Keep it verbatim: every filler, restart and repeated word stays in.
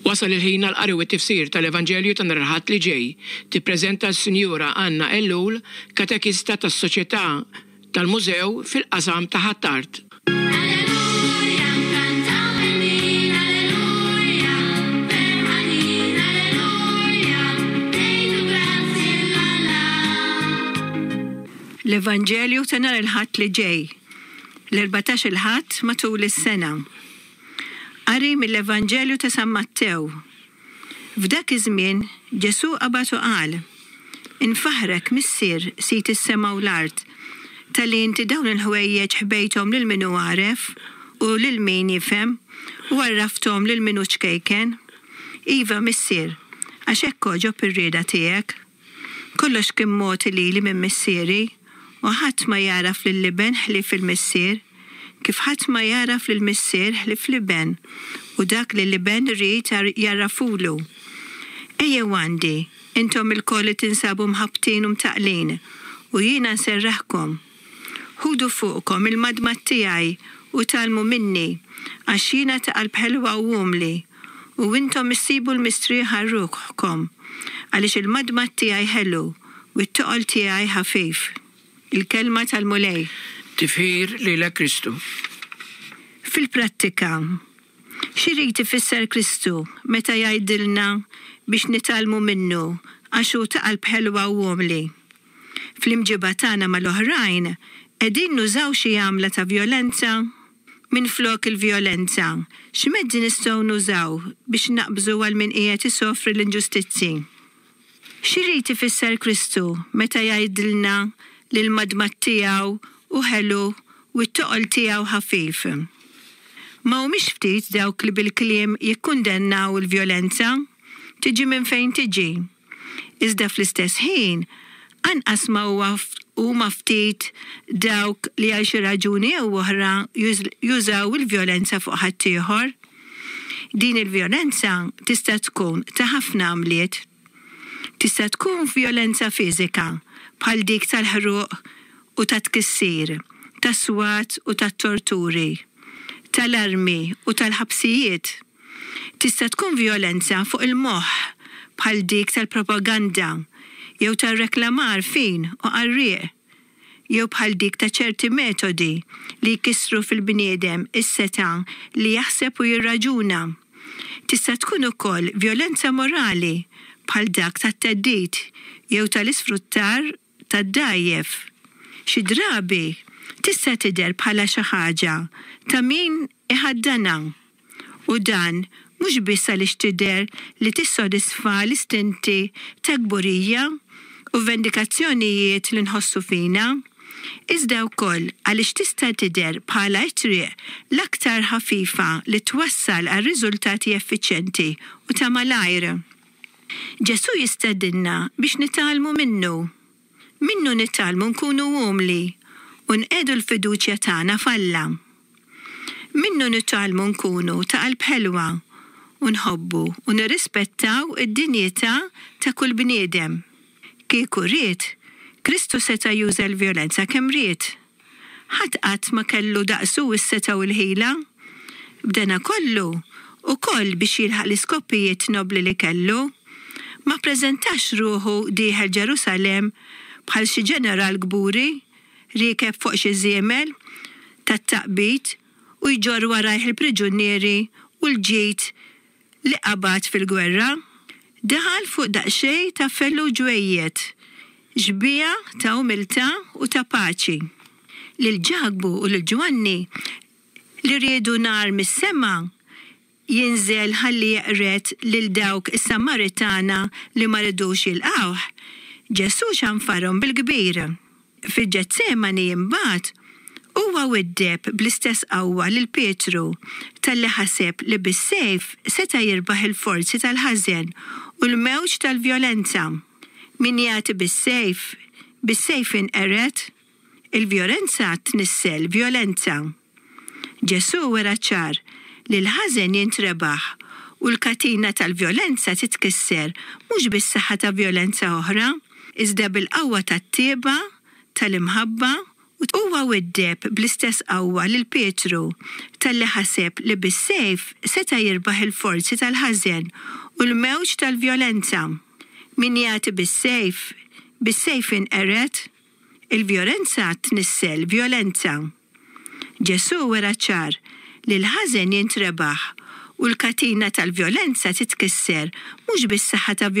Wasal il-ħin għall-qari u t-tifsir tal-Evanġelju ta' nhar il-Ħadd li ġej. Tippreżenta s-Sinjura Anna Ellul, katekista tas-Soċjetà tal-Mużew fil-qasam ta' Ħ'Attard. Alleluja, nkantaw bil-min, alleluja, ferħanin, alleluja, ngħidu grazzi 'l Alla. L-Evanġelju ta' nhar il-Ħadd li ġej, l-erbatax il-Ħadd matul is-sena. Qari mill-Evanġelju ta' San Mattew. F'dak iż-żmien Ġesù qabad u qal: Infaħrek Missier sid is-sema u l-art, talli inti dawn il-ħwejjeġ ħbejthom lil min hu għaref u lil min jifhem u għarrafthom lil min hu ċkejken. Iva Missier, għax hekk għoġob ir-rieda tiegħek. Kollox kien mogħti lili minn Missieri, u ħadd ma jagħraf lill-Iben ħlief il-Missier, kif ħadd ma jagħraf lill-Missier ħlief l-Iben, u dak li l-Iben irid jgħarrafulu. Ejjew għandi, intom ilkoll li tinsabu mħabbtin u mtaqqlin, u jiena nserraħkom. Ħudu fuqkom il-madmad tiegħi u tgħallmu minni, għax jiena ta' qalb ħelwa u umli, u intom issibu l-mistrieħ għal ruħkom, għaliex il-madmad tiegħi ħelu u t-toqol tiegħi ħafif. Il-kelma tal-Mulej. Tifħir lilek Kristu. Fil-prattika, x'irid ifisser Kristu meta jgħidilna biex nitgħallmu minnu għax hu ta' qalb ħelwa u umli? Fl-imġiba tagħna mal-oħrajn, qegħdin nużaw xi għamla ta' vjolenza? Minflok il-vjolenza, x'mezzi nistgħu nużaw biex naqbżu għal min qiegħed isofri l-inġustizzi? X'irid ifisser Kristu meta jgħidilna li l-madmad tiegħu hu ħelu u t-toqol tiegħu ħafif? Ma humiex ftit dawk li bil-kliem jikkundennaw il-vjolenza, tiġi minn fejn tiġi. Iżda fl-istess ħin, anqas ma huwa huma ftit dawk li għal xi raġuni jew oħra jużaw il-vjolenza fuq ħaddieħor. Din il-vjolenza tista' tkun ta' ħafna għamliet. Tista' tkun vjolenza fiżika bħal dik tal-ħruq u tat-tkissir, tas-swat u tat-torturi, tal-armi u tal-ħabsijiet. Tista' tkun vjolenza fuq il-moħħ bħal dik tal-propaganda jew tar-reklamar fin u qarrieq, jew bħal dik ta' ċerti metodi li jkissru fil-bniedem is-setgħa li jaħseb u jirraġuna. Tista' tkun ukoll vjolenza morali bħal dak tat-theddid jew tal-isfruttar tad-dgħajjef. Xi drabi tista' tidher bħala xi ħaġa ta' min iħaddanha, u dan mhux biss għaliex tidher li tissodisfa l-istinti ta' kburija u vendikazzjonijiet li nħossu fina, iżda wkoll għaliex tista' tidher bħala t-triq l-aktar ħafifa li twassal għal riżultati effiċjenti u ta' malajr. Ġesù jistedinna biex nitgħallmu minnu. Minnu nitgħallmu nkunu umli u nqiegħdu l-fiduċja tagħna f'Alla. Minnu nitgħallmu nkunu ta' qalb ħelwa u nħobbu u nirrispettaw id-dinjità ta' kull bniedem. Kieku ried, Kristu seta' juża l-vjolenza kemm ried. Ħadd qatt ma kellu daqsu s-setgħa u l-ħila. B'dana kollu, ukoll biex jilħaq l-iskopijiet nobli li kellu, ma ppreżentax ruħu dieħel Ġerusalemm bħal xi ġeneral kburi, riekeb fuq xi żiemel tat-taqbid u jġorr warajh il-priġunieri u l-ġid li qabad fil-gwerra. Daħal fuq daqsxejn ta' fellu ġwejjed, xbieha ta' umiltà u ta' paċi. Lil Ġakbu u lil Ġwanni li riedu nar mis-sema jinżel ħalli jeqred lil dawk is-Samaritana li ma ridux jilqgħuh, Ġesù xanfarhom bil-kbir. Fil-Ġetsemani imbagħad huwa widdeb bl-istess qawwa lil Pietru talli ħaseb li bis-sejf seta' jirbaħ il-forzi tal-ħażen u l-mewġ tal-vjolenza. Min jagħti bis-sejf, bis-sejf inqered. Il-vjolenza tnissel vjolenza. Ġesù wera ċar li l-ħażen jintrebaħ u l-katina tal-vjolenza titkisser mhux bis-saħħa ta' vjolenza oħra, iżda bil-qawwa tat-tjieba, tal-imħabba u Huwa widdeb bl-istess qawwa lil Pietru talli ħaseb li bis-sejf seta' jirbaħ il-forzi tal-ħażen u l-mewġ tal-vjolenza. Min jagħti bis-sejf, bis-sejf inqered, il-vjolenza tnissel vjolenza. Ġesu wera ċar li l-ħażen jintrebaħ u l-katina tal-vjolenza titkisser mhux bis-saħħa ta'